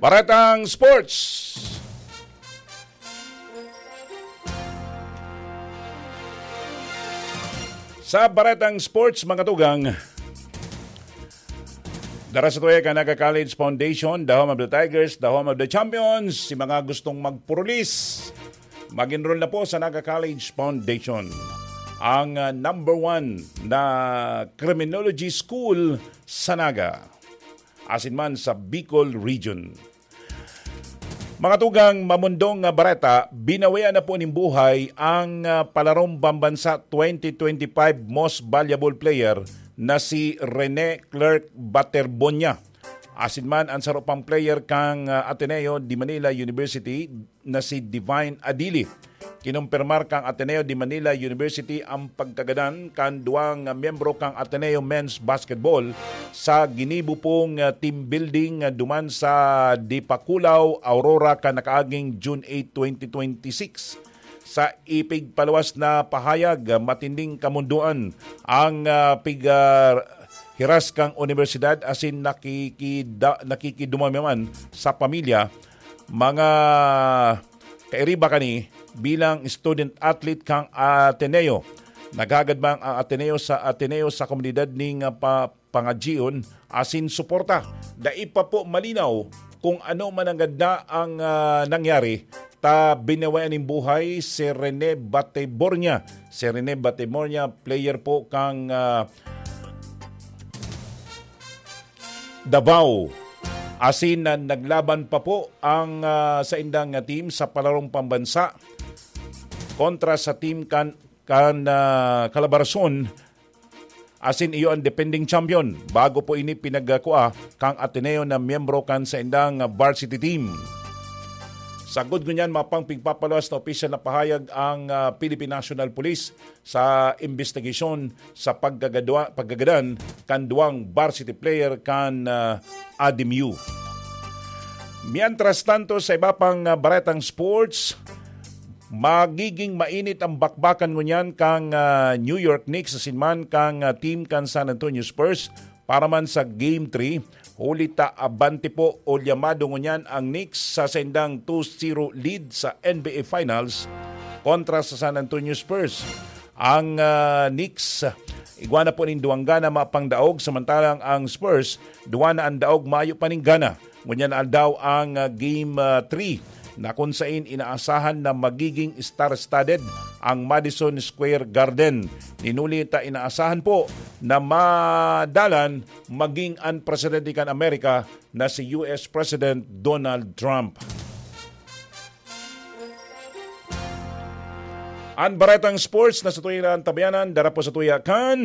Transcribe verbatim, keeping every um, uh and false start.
Baretang Sports. Sa Baretang Sports, mga tugang, dara sa tuya kan Naga College Foundation, the home of the Tigers, the home of the champions. Si mga gustong magpurulis, mag-enroll na po sa Naga College Foundation, ang ah, number one na criminology school sa Naga, asin man sa Bicol Region. Mga tugang, mamundong nga bareta, binawian na po nin buhay ang ah, palarong pambansa twenty twenty-five most valuable player na si Rene Clerk Baterbonia. Asin man ang saro pang player kan ah, Ateneo de Manila University na si Divine Adili. Kinumpirmar kan Ateneo de Manila University ang pagkagadan kan duwang miyembro kan Ateneo Men's Basketball sa ginibo pong ah, team building ah, duman sa Dipakulaw, Aurora, kan nakaaging June eight, twenty twenty-six. Sa ipigpaluwas na pahayag, ah, matinding kamundoan ang ah, pig, ah, hiras kan universidad asin nakikida-, nakikidumami man sa pamilya, mga kairiba kani bilang student athlete kan Ateneo. Naghagad man ang Ateneo sa Ateneo sa komunidad ning ah, pa-, pangadyion asin suporta. Dai pa po malinaw kung ano man ang ganda ang ah, nangyari, ta binawian nin buhay si Rene Batebornia. Si Rene Batebornia, player po kang ah, Davao. Asin na naglaban pa po ang ah, saindang nga team sa palarong pambansa kontra sa team kan, kan ah, Calabarzon. Asin iyo ang defending champion. Bago po ini pinagkua kang Ateneo na miyembro kan saindang varsity team. Sagkod ngunyan, mapang pigpapaluwas na opisyal na pahayag ang ah, Philippine National Police sa imbestigasyon sa pagkagadwa-, pagkagadan kan duwang varsity player kan ah, ADMU. Mientras tanto, sa iba pang ah, baretang sports, magiging mainit ang bakbakan ngunyan kang ah, New York Knicks asin man kang ah, team kan San Antonio Spurs para man sa Game three. Huli ta abante po o llamado ngunyan ang Knicks sa saindang two zero lead sa N B A Finals kontra sa San Antonio Spurs. Ang ah, Knicks, igwa na po nin duwang gana mapang daog, samantalang ang Spurs, duwa na an daog mayo pa nin gana. Ngunyan aldaw ang ah, Game ah, three na kun sain inaasahan na magiging star-studded ang Madison Square Garden. Ninuli ta inaasahan po na madalan maging an presidente kan Amerika na si U S President Donald Trump. An baretang sports na sa tuya na ang tabayanan, dara po sa tuya kan